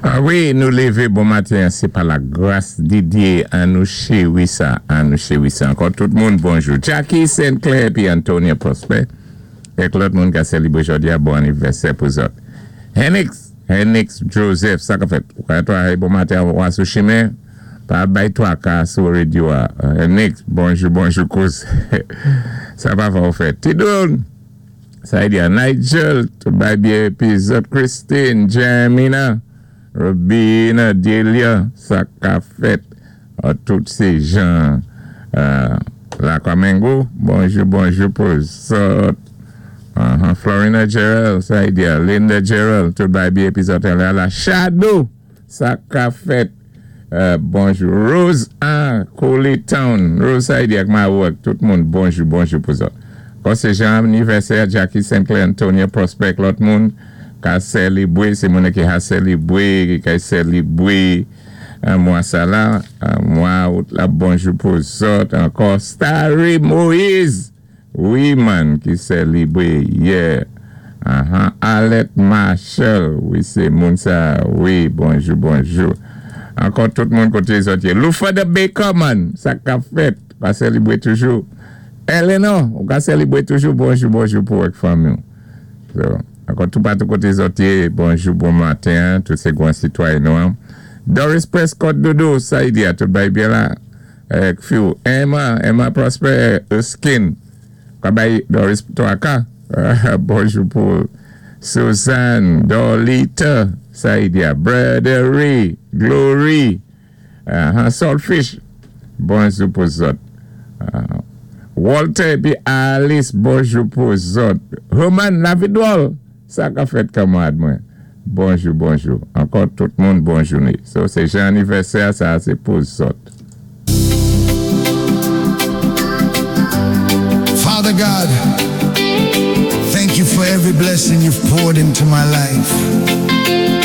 A wi, nou lévé bon maten, sé pa la gras di Dyé, an nou chéwi sa, an nou chéwi sa. Ankò tout moun, bonjou. Jackie St. Clair épi Antonia Prosper, èk lòt moun ka sélibwé jòdi-a, bon anivèsè pou zòt. Henix, Henix Joseph, sa ka fèt? Ou ka travay bon maten, ou sou chimen, pa bay twaka sou radyo-a. Henix, bonjou, bonjou, kouz. Sa pa fò ou fè. Tidoun, sa di Nigel, tout bay byen épi zòt Christine, Jamina, Robina, Delia, sa ka fèt. Tout sé jan Lakwamengo, bonjou, bonjou pou zòt. Florina Gerald, sa di Linda Gerald, tout bay byen épi zòt la, la Shadow, sa ka fèt. Bonjou. Rose A. Coley Town. Rose sa di ak Mawak, tout moun, bonjou, bonjou pou zòt. Kon sé jan anivèsè, Jackie St. Clair, Antonia Prospect, lòt moun, ka sélibwé, sé moun ki ka sélibwé, ki ka sélibwé, mwa sa la, mwa out la, bonjou pou zòt, ankò, Starry Moïse, wi man, ki sélibwé, yeah. Alet Marshall, wi sé moun sa, wi, bonjou, bonjou. Ankò tout moun koté zòt yé. Lufa the Baker man, sa ka fèt, ka sélibwé toujou. Eleanor, ou ka sélibwé toujou, bonjou, bonjou pou èk fanmi. So, ankò tout patou koté zòt yé, bonjou, bon maten, tout sé gwan sitwayen nou. Doris Prescott Dodo, sa y di a, tout bay byen la. Èk fi ou, Emma, Emma Prosper, Erskine, ka bay Doris twaka, bonjou pou Suzanne, Dolita, sa y di a, Bradery, Glory, Saltfish, bonjou pou zòt. Walter épi Alice, bonjou pou zòt. Herman Lavidwol, sa ka fèt kanmarad mwen. Bonjou, bonjou. Ankò tout moun, bon jouné. So, sé jan anivèsè, sa sé pou zòt. Father God, thank you for every blessing you've poured into my life.